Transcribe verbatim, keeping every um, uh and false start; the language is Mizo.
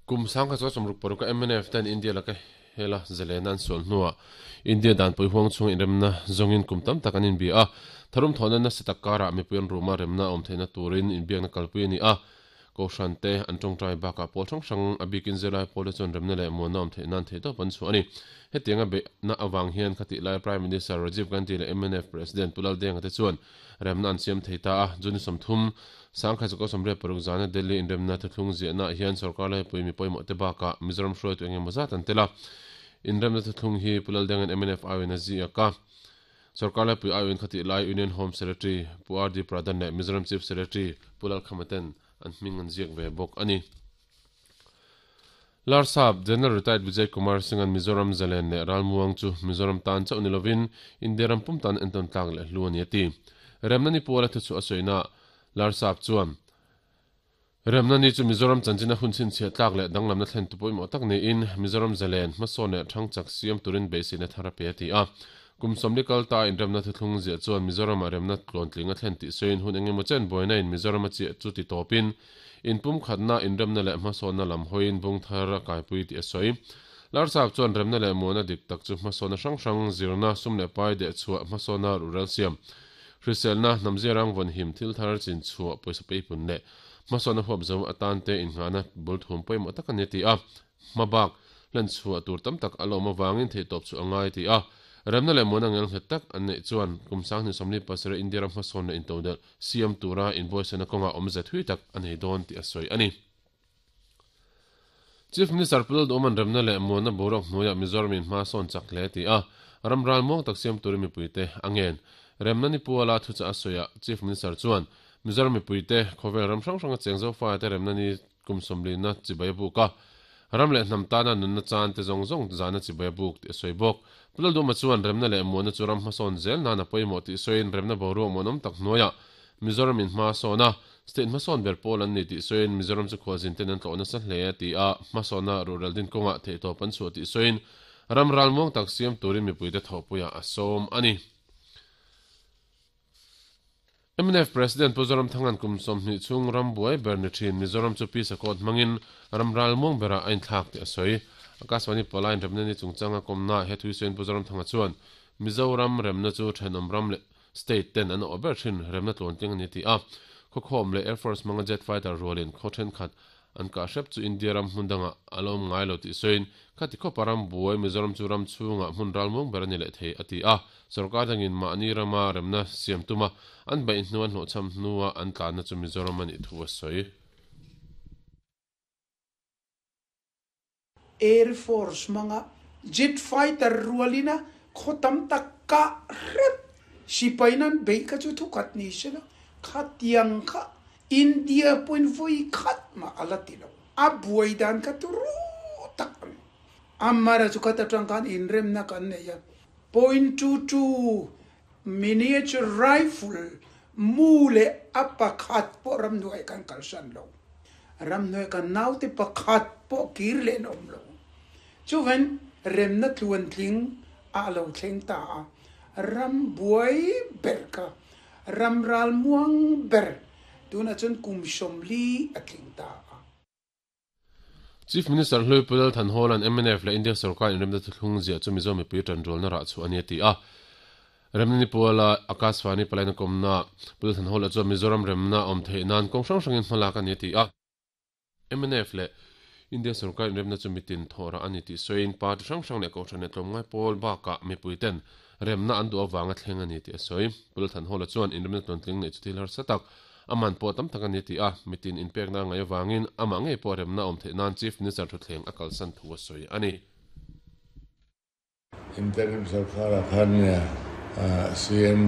Kum sangkhat zakua sawmruk paruk a M N F ten India laka hela zalen an sual hnuah India dan pui huang chhung inremna zawngin kum tam tak an inbia a. Tharum thawhna nasa tak karah mipui an ruma remna awm theihna turin inbiakna kalpui a ni a. Kohhran te an tawngtai bakah pawl hrang hrang a bikin zirlai pawl te chuan remna leh muanna awm theih nan theihtawp an chhuah a ni. Hetianga beihna avang hian khatih lai Prime Minister Rajiv Gandhi leh M N F President Pu Laldenga te chuan remna an siam thei ta a. June sawmthum, sangkhat zakua sawmriat paruk zana Delhi inremna thuthlung ziahnaah hian sorkar laipui mi pawimawh te bakah Mizoram hruaitu eng emaw zat an tel a. Inremna thuthlung hi Pu Laldenga'n M N F aiawhin a ziak a. Sorkar laipui aiawhin khatih lai Union Home Secretary Pu R D Pradhan leh Mizoram Chief Secretary Pu Lalkhama ten an hming an ziak ve bawk a ni. Larsap General Retired Vijay Kumar Singh-a'n Mizoram zalen leh ralmuang chu Mizoram tan chauh ni lovin India ram pum tan entawn tlak leh hlu a ni a ti. Remna ni puala thu chu a sawina Larsap chuan Remna ni chu Mizoram chanchina hun chhinchhiah tlak leh danglamna thlen tu pawimawh tak niin Mizoram zalen hmasawn leh thangchak siam turin beiseina thar a pe a ti a. Kum sawmli kal ta inremna thuthlung ziah chuan Mizoramah remna tluantling a thlen tih sawiin hun eng emaw chen buaina in Mizoram a chiah chu ti tawpin inpum khatna inremna leh hmasawnna lam hawiin bung thar a kaipui tih a sawi. Larsap chuan remna leh muana dik tak chu hmasawnna hrang hrang zirna sum leh pai deh chhuah hmasawnna rural siam hriselna hnamzia rang vawn him thil thar chin chhuah pawisa peipun leh hmasawnna huap zo atan te inngahna bul thum pawimawh tak a ni a ti a. Hmabak hlen chhuah tur tam tak a lawm avangin theihtawp chu a ngai a ti a. Remna leh muana ngel nghet tak an neih chuan kum sanghnih sawmli pasarih India ram hmasawn leh intodelh siam tura inbuaisana kawnga awmze thui tak a nei dawn tih a sawi a ni. Chief Minister Pu Lalduhawma'n remna leh muanna boruak hnuaiah Mizoram in hma sawn chak hle a ti a, ram ral muang tak siam turin mipuite a ngen. Remna ni puala thuchah a sawiah Chief Minister chuan Mizoram mipuite khawvel ram hrang hranga cheng zofa te remna ni kum sawmlina chibai a buk a, ram leh hnam tana nunna chan te zawng zawng zana chibai a buk tih a sawi bawk. Pu Lalduhawma chuan remna leh muanna chu ram hmasawn zel nan a pawimawh tih sawiin remna boruak muanawm tak hnuaiah Mizoram in hma sawn a, state hmasawn ber pawl an ni tih sawiin Mizoram chu khualzin ten an tlawh nasa hle a ti a, hmasawnna rural din kawngah theihtawp an chhuah tih sawiin ram ral muang tak siam turin mipuite thawhpuiah a sawm a ni. M N F President Pu Zoramthanga'n kum sawmhnih chhung ram buai ber ni thin Mizoram chu Pisa Court hmangin ram ral muang berah a inthlak tih a sawi. Akashvani pawlaiin remna ni chungchanga kawmna he thuisawiin Pu Zoramthanga chuan Mizoram remna chu thenawm ram leh state ten an awh ber thin remna tluantling a ni ti a. Khawkhawm leh Air Force hmanga jet fighter rualin khaw thenkhat an kah hrep chu India ram hmun dangah a lo awm ngai lo tih sawiin khati khawpa ram buai Mizoram chu ram chhungah hmun ral muang ber a ni leh thei a ti a. Sorkar dangin mahni rama remna siam tuma an beih hnu an hlawhchham hnua an tlanna chu Mizoram a nih thu a sawi. Air Force hmanga jet fighter rualina khaw tam tak kah hrep sipai nan beih kha chu thukhat ni sela khatiang kha India pawhin vawi khat mah a la ti lo. A buai dan kha turu tak a ni. Amara chu khat atang khan inremna kan nei a, point two two miniature rifle mu leh a pakhat pawh ramhnuai kan kalsan lo. Ramhnuai kan naute pakhat pawh kir leh an awm lo. Chuvan remna tluantling a lo thleng ta a, ram buai ber kha ram ral muang ber tunah chuan kum sawmli a tling ta a. Chief Minister Hlui Pu Lal Thanhawla'n M N F leh India sorkar inremna thuthlung ziah chu Mizo mipui tanrualna rah chhuah a ni a ti a. Remna ni puala Akashvani palaina kawmna Pu Lal Thanhawla chuan Mizoram remna awm theih nan kawng hrang hrangin hmalak a ni a ti a. M N F leh India sorkar inremna chu mitin thawh rah a ni tih sawiin party hrang hrang leh kohhran leh tlawmngai pawl bakah mipui ten remna an duh avanga thleng a ni tih a sawi. Pu Lal Thanhawla chuan inremna tluantling neih chu thil harsa tak a man pawh tam tak a ni ti a, mitin inpekna ngai avangin amah ngei pawh remna awm theih nan Chief Minister thuthleng a kalsan thu a sawi a ni. Interim sarkar ah khan C M